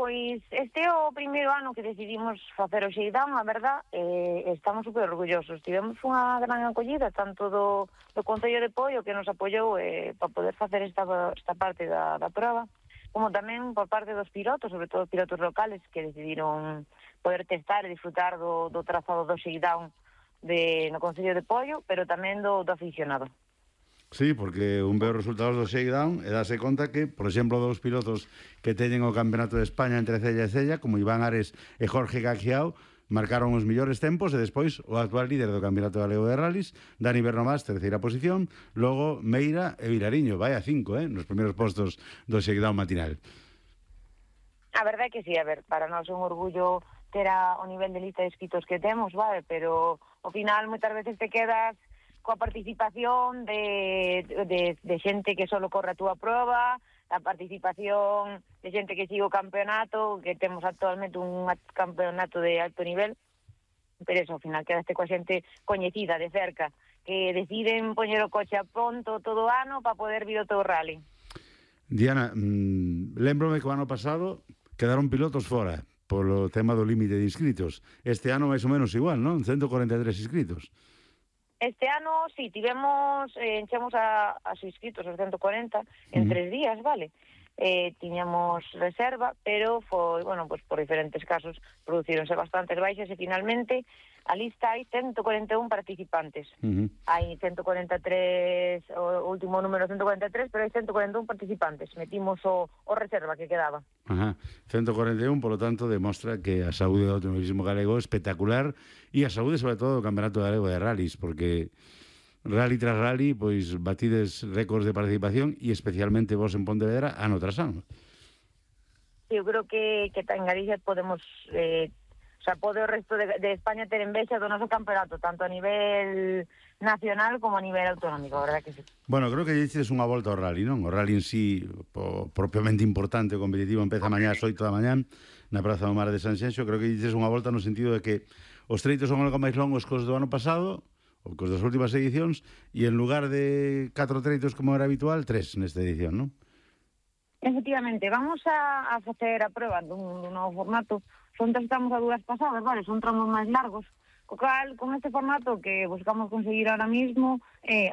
Pois este é o primeiro ano que decidimos facer o shakedown, a verdad, estamos super orgullosos. Tivemos unha gran acollida, tanto do Concello de Poio, que nos apoiou para poder facer esta parte da proba, como tamén por parte dos pilotos, sobre todo pilotos locales, que decidiron poder testar e disfrutar do trazado do shakedown no Concello de Poio, pero tamén do aficionado. Sí, porque un ve os resultados do shakedown e dase conta que, por exemplo, dos pilotos que teñen o Campeonato de España entre Cella e Cella, como Iván Ares e Jorge Gaxiao, marcaron os mellores tempos e despois o actual líder do Campeonato Galego de Rallys, Dani Bernomás, terceira posición, logo Meira e Vilariño, vai a 5, nos primeiros postos do shakedown matinal. A verdade é que sí, a ver, para nós é un orgullo ter o nivel de lista de inscritos que temos, vale, pero ao final moitas veces te quedas coa participación de xente que solo corre a túa proba, a participación de xente que sigue o campeonato, que temos actualmente un campeonato de alto nivel, pero eso, ao final quedaste coa xente coñecida de cerca, que deciden poñer o coche a punto todo o ano para poder vir o teu rally. Diana, lembrome que o ano pasado quedaron pilotos fora polo tema do límite de inscritos. Este ano máis ou menos igual, non? 143 inscritos. Este ano, sí, enchemos a inscritos, os 140, en 3 días, vale? Tiñamos reserva, pero foi, bueno, pues por diferentes casos producironse bastantes baixas e finalmente a lista hai 141 participantes. Hai 143, o último número 143, pero hai 141 participantes. Metimos o reserva que quedaba. 141, polo tanto, demostra que a saúde do automobilismo galego é espectacular e a saúde, sobre todo, do Campeonato Galego de Rallys, porque rally tras rally, pois batides récords de participación e especialmente vos en Pontevedra ano tras ano. Sí, eu creo que en Galicia podemos... pode o resto de España ter envexa do noso campeonato, tanto a nivel nacional como a nivel autonómico, a verdad que sí. Bueno, creo que dices unha volta ao rally, non? O rally en sí, propiamente importante, o competitivo, empeza mañá ás 8 da mañán na Praza do Mar de Sanxenxo. Creo que dices unha volta no sentido de que os treitos son algo máis longos que os do ano pasado, ou que os das últimas edicións, e en lugar de 4 treitos como era habitual, 3 nesta edición, non? Efectivamente, vamos a facer a prueba dun novo formato. Estamos a 2 pasadas, vale, son tramos máis largos, co cal, con este formato que buscamos conseguir ahora mismo,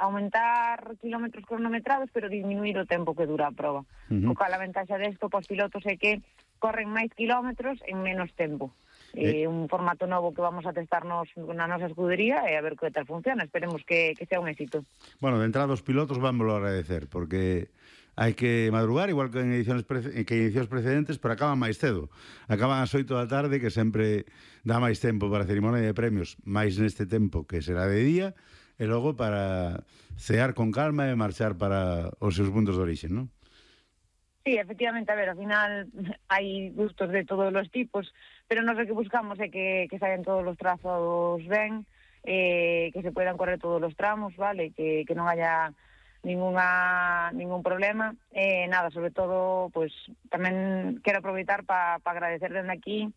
aumentar kilómetros cronometrados, pero disminuir o tempo que dura a proba. Co cal, a ventaxa desto para os pilotos é que corren máis kilómetros en menos tempo. Un formato novo que vamos a testar na nosa escudería e a ver que tal funciona. Esperemos que sea un éxito. Bueno, de entrada os pilotos vámoslo agradecer, porque hai que madrugar, igual que en edicións precedentes, pero acaban máis cedo. Acaban ás 8 da tarde, que sempre dá máis tempo para a cerimonia de premios, máis neste tempo que será de día, e logo para cear con calma e marchar para os seus puntos de orixe, non? Sí, efectivamente, a ver, ao final hai gustos de todos os tipos, pero nós o que buscamos é que saian todos os trazados ben, que se puedan correr todos os tramos, vale, que non haya ningún problema. Nada, sobre todo, pues tamén quero aproveitar para agradecer dende aquí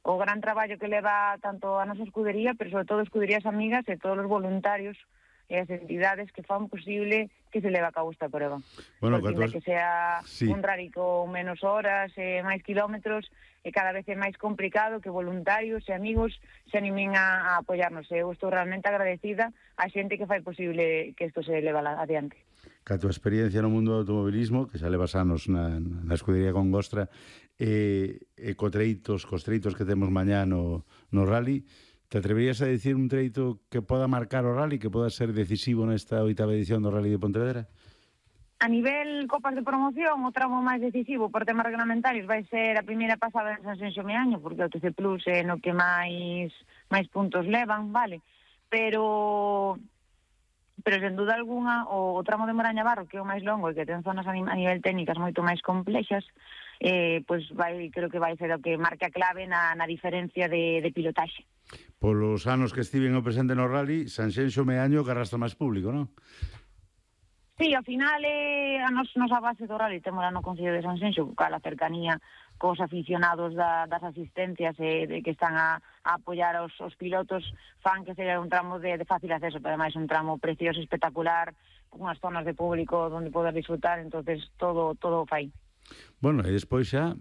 o gran traballo que leva tanto a nosa escudería, pero sobre todo escuderías amigas e todos os voluntarios e as entidades que fan posible que se leva a cabo esta prueba. Bueno, que sea sí, un rally con menos horas, máis kilómetros, e cada vez é máis complicado que voluntarios e amigos se animen a apoiarnos. Eu estou realmente agradecida a xente que fai posible que isto se leva adiante. Que a tua experiencia no mundo do automobilismo, que xa levas anos na escudería con Gostra, e cos treitos que temos mañá no rally, te atreverías a dicir un treito que poda marcar o rally, que poda ser decisivo nesta 8ª edición do Rally de Pontevedra? A nivel copas de promoción, o tramo máis decisivo por temas reglamentarios vai ser a primeira pasada en Sanxenxo Meaño, porque o TC Plus é no que máis puntos levan, vale? Pero sen duda alguna o tramo de Moraña Barro, que é o máis longo e que ten zonas a nivel técnicas moito máis complexas, creo que vai ser o que marque a clave na diferencia de pilotaxe. Polos anos que estiven o presente no rally, Sanxenxo Meaño que arrastra máis público, non? Sí, ao final a nosa base do rally temos no Concello de Sanxenxo, cal a cercanía cos aficionados das asistencias que están a apoiar os pilotos, fan que seja un tramo de fácil acceso, pero ademais un tramo precioso, espectacular, con unhas zonas de público onde poder disfrutar, entonces todo fai. Bueno, e despois xa